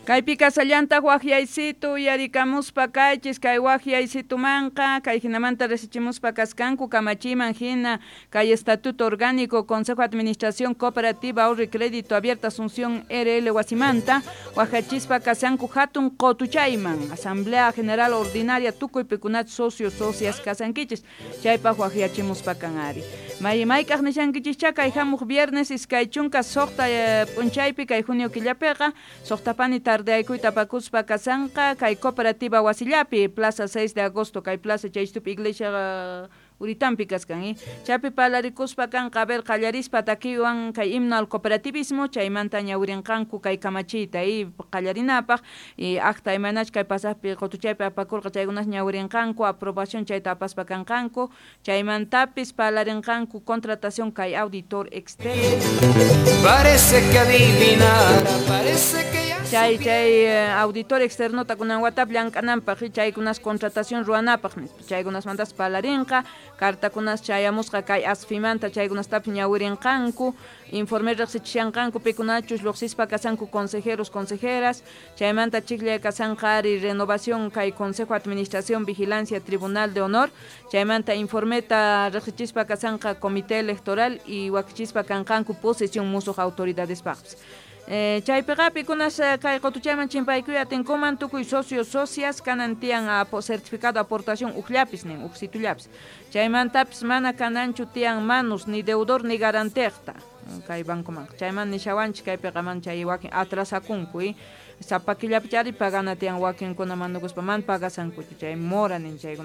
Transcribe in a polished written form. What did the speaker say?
Kaypi kasallantaq waqyaysitu uyarikamuspa kaychis kay waqyaysitumanqa kay hinamanta riqsichimuspa kaskanku kamachiyman hina kay Estatuto Orgánico Consejo de Administración Cooperativa Ahorro y Crédito Abierta Asunción RL wasimanta waqyachispa kasanku hatun qutuchayman Asamblea General Ordinaria tukuy pikunach socios socias kasankichis chaypaq waqyachimuspa kan ari may mayk'aq nishankichischa kay hamuq viernes 26 p'unchaypi kay junio killapiqa suqtapani tardeaykuyta apakuspa kasanqa kay cooperativa wasillapi Plaza 6 de Agosto kay plaza chaystupi iglesia uritampi kaskan chaypi parlarikuspa kanqa a ver qallarispa takiwan kay himno al cooperativismo chaymanta ñawirinqanku kay kamachiyta qallarinapaq y acta imaynach kay pasaqpi qutuchaypi apakurqa chaykunas ñawirinqanku aprobación chayta apaspa kanqanku chaymantapis parlarinqanku contratación kay auditor externo. Parece que adivinara, parece que ya Chay auditor externota kunan watap llank'ananpaq chaykunas contratación ruwanapaq nispa chaykunasmantas parlarinqa cartakunas chayamusqa kay ASFImanta chaykunastapis ñawirinqanku informe riqsichishanqanku pikunachus lluqsispa kasanku consejeros consejeras chaymanta chikllay kasanqa ari renovación kay Consejo de Administración Vigilancia Tribunal de Honor chaymanta informeta riqsichispa kasanqa Comité Electoral y wakichispa kanqanku posesión musuq autoridadespaqpis. Chaypiqa pikunas kay qutuchayman chimpaykuy atinkuman tukuy socios socias kanan tiyan certificado aportación ujllapis nin ujsitullapis chaymantapis mana kananchu tiyan manus ni deudor ni garanteqta kay bancoman chayman nishawanchik kaypiqa man chay wakin atrasakunku sapa killapi chari pagana tiyan wakinkuna manukuspa man pagasankuchu chay mora nin chaykuna.